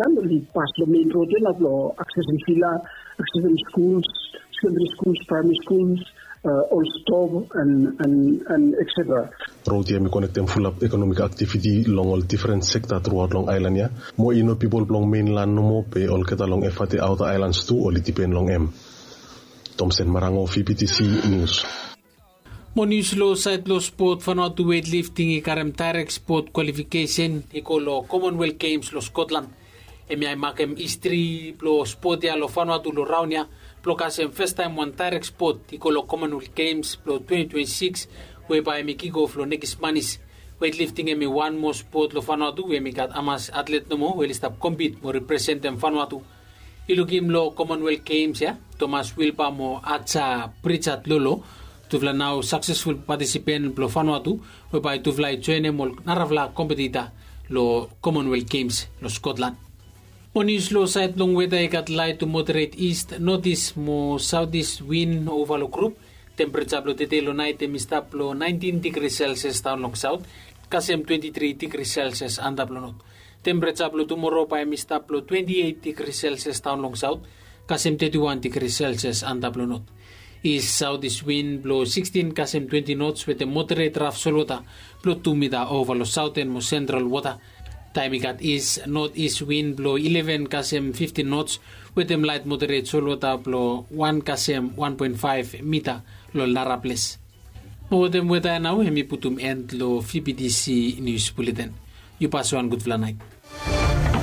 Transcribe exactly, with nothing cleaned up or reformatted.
Nambali pas long mein rod ya na blong aksesim vila, aksesim skuls, sekendari skuls, praimari skuls, ol stop and and and et cetera. Rod ya em i konektem fulap ekonomik aktiviti long ol difren sekta truaot long aelan ya. Mo i no pipol blong meinlan nomo be olgeta long efate aota aelans tu oli dipen long em. Tomsen Marango, V P T C News. Mo nius long saed blong spot, Vanuatu weightlifting i karem daerek spot kwalifikesen i go long Commonwealth Games long Scotland. Hemia i makem histri blong spot ya long Vanuatu long raon ya blong kasem fastaem wan daerek spot i go long Commonwealth Games blong twenty twenty-six, we bae hemi kikof long nekis manis. Weightlifting hemi wan moa spot long Vanuatu we hemi gat hamas atlet nomo we oli stap kompit mo representem Vanuatu. I lukim long Commonwealth Games ya, Thomas Wilba mo Aja Pritchard Lolo, tufala nao saksesful patisipen blong Vanuatu, we bae tufala i joenem ol narafala kompetita long Commonwealth Games long Scotland. Mo nius long saed blong weta, i gat laet tu moderet ist, notis mo saotis win ova long grup. Tempereja blong tede long naet hemi stap long naentin digri selsias daon long saot, kasem twenti tri digri selsias antap long not. Tempereja blong tumoro bae hemi stap long twenti eit digri selsias daon long saot, kasem teti wan digri selsias antap long not. Ist saotis win blong sikstin kasem twenti nots wetem moderet raf solwota blong tu mita ova long saoten mo sentral wota. Taem i gat ist notis win blong ileven kasem fiftin nots wetem laet moderet solwota blong wan kasem wan poen faef mita long ol naraples. Mo wetem weta ya nao hemi putum en long V P T C nius buleten. Yu pas wan gudfala naet.